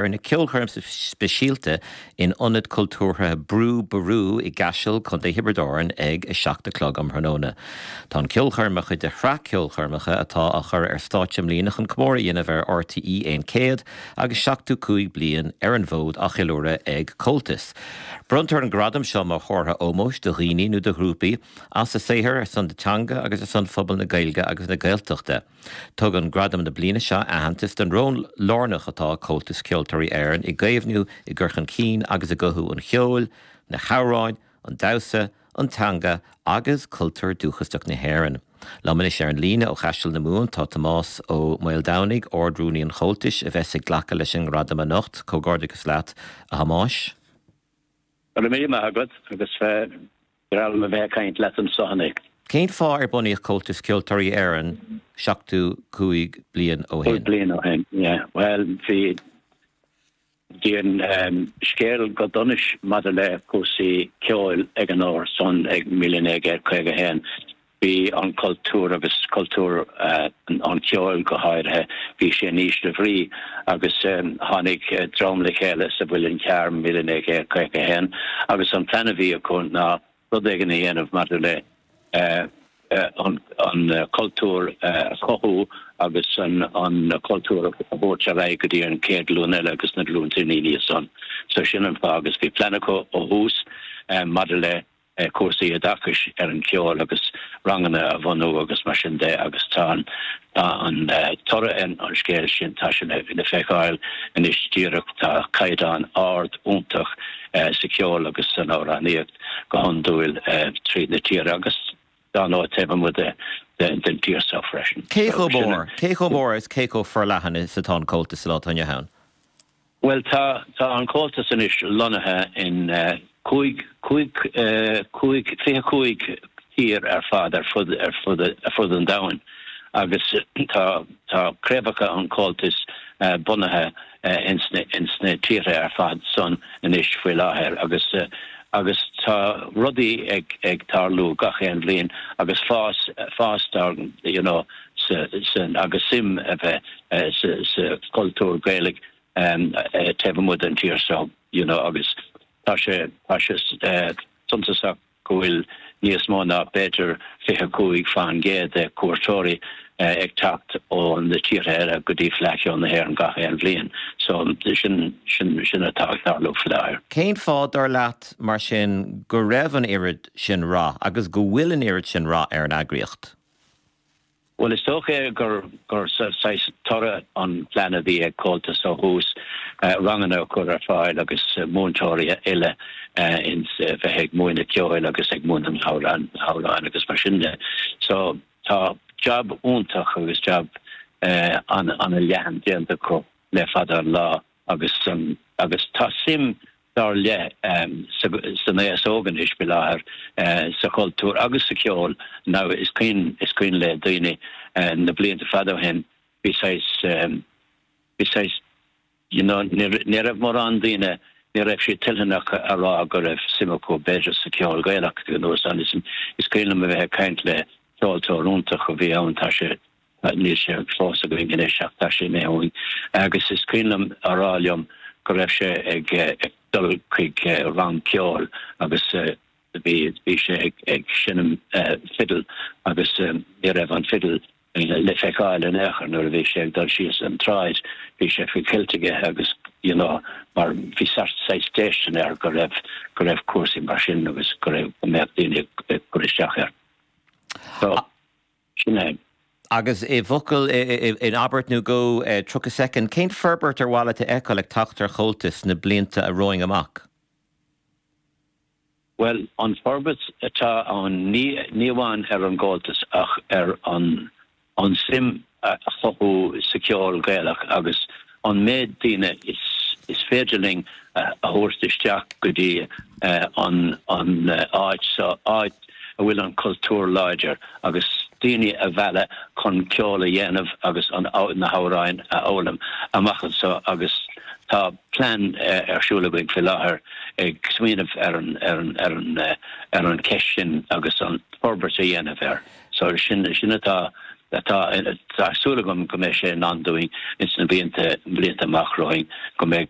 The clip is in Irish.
Ina ceolchoirm speisialta in Ionad Cultúrtha Brú Ború i gCaiseal, Co. Thiobraid Árann ag 7 a chlog um thráthnóna. Tá an ceolchoirm mar chuid de shraith ceolchoirmeacha atá á chur ar stáitse i mbliana chun comóradh a dhéanamh ar RTÉ 1 100 agus 75 bliain ar an bhfód á cheiliúradh ag Comhaltas. Bronntar an gradam seo mar chomhartha ómóis do dhaoine nó do ghrúpaí as a saothar ar son na teanga agus ar son phobal na Gaeilge agus na Gaeltachta. Tugann Gradam na bliana seo aitheantas don ról lárnach atá ag Comhaltas Ceoltóirí Éireann i gcaomhnú, i gcur chun cinn agus i gcothú an cheoil, na hamhráin, an damhsa, an teanga agus cultúr dúchasach na hÉireann. Liom anois ar an líne ó Chaiseal na Mumhan tá Tomás Ó Maoldomhnaigh, Ard-Rúnaí an Chomhaltais, a bheas ag glacadh leis an ngradam anocht. Comhghairdeachas leat, a Thomáis. Go raibh míle maith agat agus breá liom a bheith ag caint leat anso inniu. Cén fáth ar bunaíodh Comhaltas Ceoltóirí Éireann 75 bliain ó shin? 5 bliain ó shin, yeah. Bhuel, bhí, bhí an scéal go donais maidir le cúrsaí ceoil ag an uair san ag 1951. Bhí an cultúr agus cultúr an cheoil go háirithe, bhí sé in ísle bhrí agus tháinig dream le chéile sa Mhuileann Cearr 1951 agus an plean a bhí acu ná rud éigin a dhéanamh maidir le an cultúr a chothú agus an cultúr a thabhairt ar aghaidh go dtí an chéad ghlúin eile agus na glúnta ina dhiaidh san. So sin an fáth agus bhí plean acu ó thús maidir le cúrsaí oideachais ar an cheol agus ranganna a bhunú agus mar sin de agus tá an tá an toradh ar an scéal sin, tá sé le feiceáil anois díreach, tá caighdeán ard iontach sa cheol agus san amhránaíocht go hiondúil tríd na tíre agus dár ndóigh taobh amuigh den tír seo freisin. Cé chomh mór, cé chomh mór is cé chomh forleathan is atá an Comhaltas sa lá atá inniu ann? Bhuel, tá, tá an Comhaltas anois lonnaithe in 5, 5, 5, 25 tír ar fad ar fud, ar fud, ar fud an domhain agus tá, tá craobhacha an Chomhaltais bunaithe ins na, ins na tíortha ar fad san anois faoi láthair agus, agus tá rudaí ag, ag tarlú gach aon bhliain agus fás, fás dár, you know, sa, san, agus suim a bheith sa chultúr Gaelach taobh amuigh den tír seo you know agus tá sé tá sé suntasach go bhfuil níos mó ná b'fhéidir 25% de cuairteoirí ag teacht ó na tíortha eile go dtí Fleadh Cheoil na hÉireann gach aon bhliain. So sin sin sin atá ag tarlú faoi láthair. Cén fáth, dar leat, mar sin, go raibh an oiread sin rath agus go bhfuil an oiread sin rath ar an eagraíocht? Bhuel, is dócha gur gur saghas toradh an plean a bhí ag Comhaltas ó thús, ranganna a chur ar fáil agus múinteoirí a oileadh ins bheith ag múineadh ceoil agus ag múineadh na hamhráin agus mar sin de. So tá jab iontach agus jab an-leathan déanta acu le fada an lá agus agus tá suim dar leith san aos óg anois faoi láthair sa chultúr agus sa cheol. Now is cuimhin is cuimhin le daoine na blianta fada ó shin bhí saghas bhí saghas you know ní raibh mórán daoine ní raibh siad toiltheanach a rá go raibh suim acu b'fhéidir sa cheol Gaelach you know is cuimhin liom a bheith ag caint le ceoltóir iontach a bhí ann tá sé Níl sé fós againn anois ach tá sé imithe uainn agus is cuimhin liom a rá liom go raibh sé ag dul chuig rang ceoil agus bhí bhí sé ag seinm fidil agus ní raibh an fidil le feiceáil in aon chor nuair a bhí sé ag dul síos an tsráid bhí sé faoi chilt aige agus you know mar bhí saghas déistin air go raibh go raibh cúrsaí mar sin agus go raibh go mbeadh daoine ag cur isteach air. So. Sin é. Agus i bhfocal, in abairt nó dhó, 30 soicind, cén forbairt ar mhaith leat a fheiceáil ag teacht ar Chomhaltas sna blianta romhainn amach? Bhuel, an forbairt atá ann, ní amháin ar an gComhaltas ach ar an an suim a chothú sa cheol Gaelach agus an méid daoine is féidir linn a thabhairt isteach go dtí an áit seo, áit a bhfuil an cultúr láidir agus daoine a mhealladh chun ceol a dhéanamh agus na hamhráin a fhoghlaim amach anseo agus tá plean ar siúl againn faoi láthair ag smaoineamh ar an ar an ar an ar an cheist sin agus an forbairt a dhéanamh air. So sin sin atá. Tá tá súil agam go mbeidh sé in ann dúinn ins na blianta blianta amach romhainn go mbeidh.